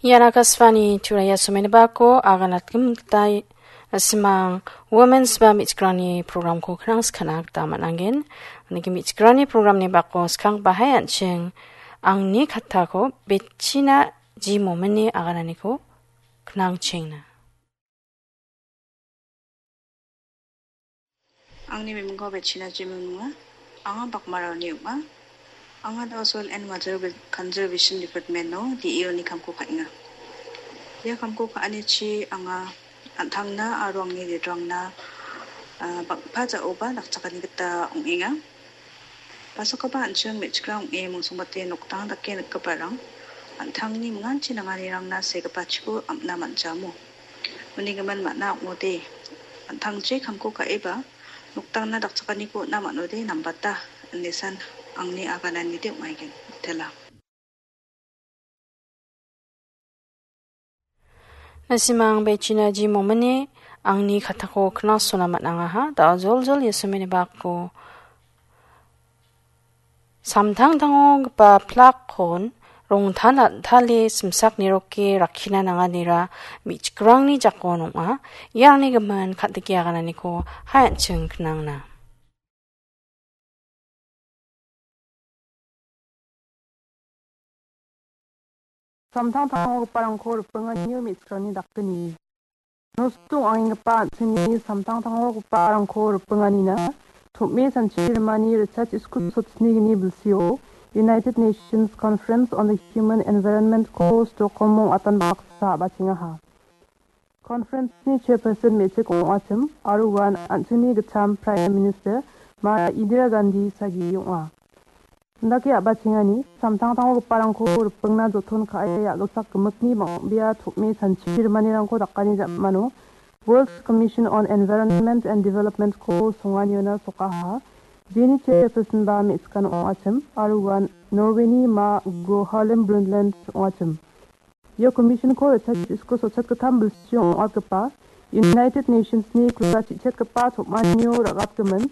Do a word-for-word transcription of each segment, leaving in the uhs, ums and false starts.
Ian Akashvani Turaia somenibako aganatgim gita simang Women's ba me·chikrangni programko knang skana gita man·angen. Niki me·chikrangni programni bako skang bahai an·ching angni kattako Bechina G Mominni agananiko knang chengna. Angni mimingko Bechina G Momin ong·a. Anga Bakmaraoni ong·a. Anga da·o Soil and Water Conservation Department-o D E O-ni kamko ka·enga. Ia kamko ka·anichi anga an·tangna aro angni ridrangna, ah, bang·pa ja·oba dakchakani gita ong·enga. Pasakoba an·ching me·chikrang ong·e mongsongbate nokdang dake nikgiparang an·tangni minganchi nanganirangna segipachiko am·na man·jamo. Uni gimin man·a ong·ode, an·tangchi kamko ka·eba nokdangna dakchakaniko on·a man·ode nambata, ine san angni agananide ong·aigen, mitela. Nasimang Bechina G Mominni angni kattako knasona man·angaha. Da·o joljol Yesumini bako samtangtangogipa plakkon rongtan an·tale simsak niroke rakkina nanganira me·chikrangni jakon ong·a. Iarangni gimin ka·dike agananiko hai an·ching knangna. Samtangtangogiparangko ripinganio me·chikrangni dakgni. Nosto ong·angenggipa an·chingni samtangtangogiparangko ripinganina tom·e sanchi rimani Richard Isku sotsinigni bilsio United Nations Conference on the Human Environment-ko Stockholm-o ong·atan baksa a·bachengaha. Conference-ni chairperson me·chik ong·achim aro uan an·chingni gitcham Prime Minister Ma Indira Gandhi sagi ong·a. Indake a·bachengani samtangtangogiparangko ripingna joton ka·e a·gilsak gimikni bang·bea tom·e sanchi rimanirangko dakani jamano World Commission on Environment and Development-ko songaniona sokaha. Jeni chairperson-ba me·chikan ong·achim aro uan Norway-ni Ma Gro Harlem Brundtland ong·achim. Ia commission-ko Richard Isku sotchet gittam bilsio ong·atgipa United Nations-ni kula chichetgipa tom·anio ra·gatgimin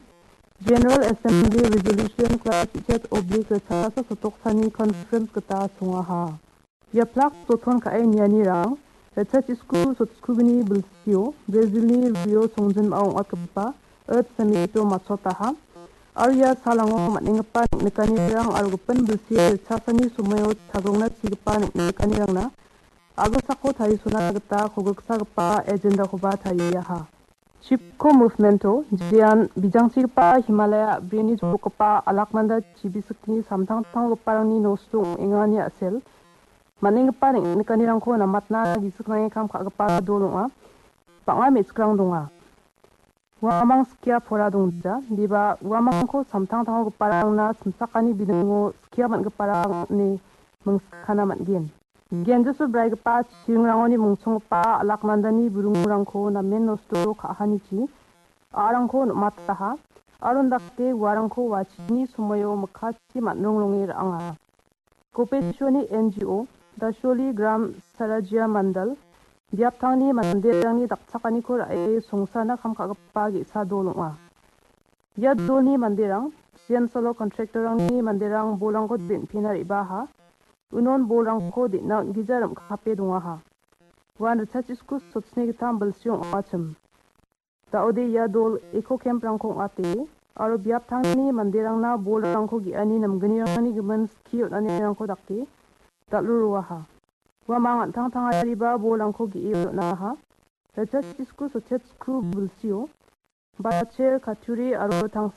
General Assembly Resolution kula chichet oblik ritchasa sotoksani conference gita songaha. Ia plak joton ka·e nianirang Richard Isku sotskugni bilsio Brazil-ni Rio songjinmao ong·atgipa Earth Summit-o matchotaha. Aro ia salango man·enggipa neng·nikanirang aro gipin bilsi ritchasani somoio chagrongna chigipa neng·nikanirangna a·gilsako tarisona gita kolgriksagipa agenda-koba tariaha. Chipko Movement-o jean bijangchigipa Himalaya a·brini jokgipa Alaknanda chibisikni samtangtanggiparangni nosto ong·engani a·sel man·enggipa neng·nikanirangko namatna gisik nange kam ka·gipa dol ong·a. Bang·a me·chikrang donga. Uamang skia pora dongja, indiba uamangko samtangtangogiparangna simsakani bidingo skia man·giparang ine mingskana man·gen. Genjisu braigipa chiringrangoni mungsonggipa Alaknandani burungrangko namen nosto ka·anichi a·rangko nom·ataha, aro indake uarangko wachini somoio mikkachi man·rongronge ra·anga. Gopeshwani N G O, Dasholi Gram Sarajya Mandal, biaptangni manderangni dakchakaniko ra·e songsarna kam ka·gipa ge·sa dol ong·a. Ia dolni manderang, sian salo contractor-rangni manderang bolrangko den·pena re·baaha. Unon bolrangko den·na on·gija rim·kape dongaha. Uan ritchasisku sotsni gittam bilsi ong·achim. Da·ode ia dol eco camp-rangko ong·ate aro biaptangni manderangna bolrangko ge·ani namgnirangni gimin skie on·anirangko dake dal·roroaha. Uamang an·tangtangariba bolrangko ge·e on·aha. Ritchasisku sotsku bilsio bacher, katuri aro tangsa